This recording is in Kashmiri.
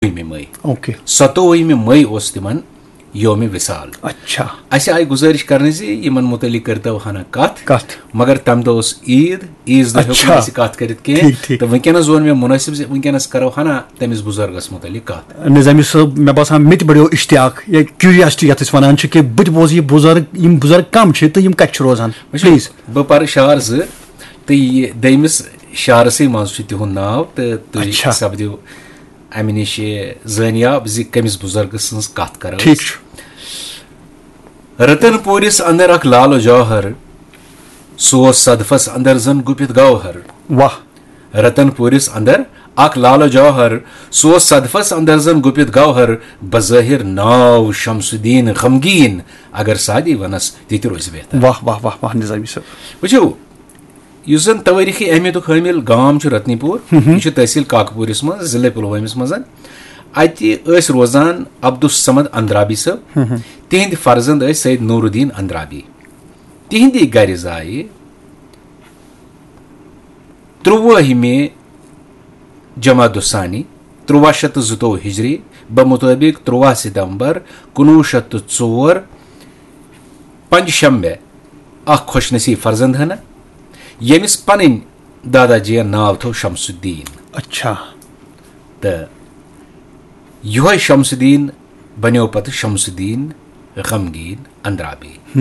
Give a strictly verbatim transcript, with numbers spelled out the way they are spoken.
ژوٚوُہمہِ مئی۔ اوکے۔ ستووُہمہِ مئی اوس تِمن یوم وصال۔ اچھا۔ اسہِ آیہِ گُزٲرِش کرنہٕ زِ یِمن متعلق کٔرتو ہنا کتھ۔ کتھ۔ مگر تمہِ دۄہ اوس عید، عیز دۄہ ہیوٚک نہٕ اچھا۔ اسہِ کتھ کٔرِتھ کینٛہہ۔ ٹھیٖک، ٹھیٖک۔ تہٕ وٕنکیٚنس زون مےٚ منٲسِب زِ وٕنکیٚنس کرو ہنا تٔمِس بُزرگس متعلق کتھ۔ نظامی صٲب، مےٚ باسان مےٚ تہِ بڑیو اشتیاق یا کیوریاسٹی یتھ أسۍ ونان چھِ کہِ بہٕ تہِ بوزٕ یہِ بُزرگ، یِم بُزرگ کم چھِ تہٕ یِم کتہِ چھِ روزان؟ وٕچھِو، پلیز۔ بہٕ پرٕ شعر زٕ تہٕ یہِ دوٚیمِس شعرسٕے منٛز چھُ تِہُنٛد ناو تہٕ تُہۍ اچھا۔ سپدِو امہِ نِش زٲنیاب زِ کٔمِس بُزرگہٕ سٕنٛز کتھ کرو أسۍ۔ ٹھیک چھُ۔ رتن پوٗرِس اندر اکھ لال و جوہر، سُہ اوس صدفس اندر زن گُپِتھ گوہر۔ واہ۔ رتن پوٗرِس اندر اکھ لال و جوہر، سُہ اوس صدفس اندر زن گُپِتھ گوہر، بظٲہر ناو شمس الدین غمگیٖن، اگر سادی ونس تہِ تہِ روزِ بہتر۔ واہ واہ واہ واہ نظامی صٲب۔ وٕچھِو، یُس زن توٲریخی اہمیتُک حٲمل گام چھُ رتنی پوٗر، یہِ چھُ تحصیل کاکپوٗرِس منٛز، ضلع پلوٲمِس منٛز۔ اتہِ ٲسۍ روزان عبدالصمد اندرابی صٲب۔ تِہنٛدۍ فرزند ٲسۍ سید نور الدین اندرابی۔ تِہنٛدی گرِ زایہِ ترٛوٲہمہِ جمادی الثانی، ترٛواہ شیٚتھ تہٕ زٕتووُہ ہجری، بمطٲبق ترٛواہ ستمبر کُنوُہ شیٚتھ تہٕ ژور، پنج شنبہ، اکھ خۄش نصیب فرزند ہنا، ییٚمِس پنٕنۍ دادا جین ناو تھوو شمس الدین۔ اچھا۔ تہٕ یِہوے شمس الدین بنیو پتہٕ شمس الدین غمگیٖن اندرابی۔